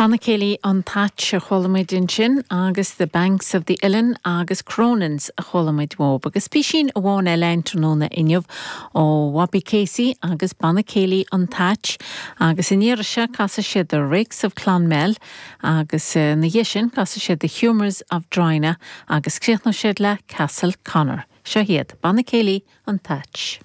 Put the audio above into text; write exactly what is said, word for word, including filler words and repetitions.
Banna Céilí an Thatch a chuala muid ansin agus The Banks of the Ilen agus Cronins a chuala muid uathub agus písín amháin eile an tráthnóna inniu ó Bobby Casey agus Banna Céilí an Thatch agus an iarraidh seo casfaidh siad The Rakes of Clonmel agus eh, ina dhiaidh sin casfaidh siad The Humours of Drina agus críochnóidh siad le Castle Connor. Seo iad Banna Céilí an Thatch.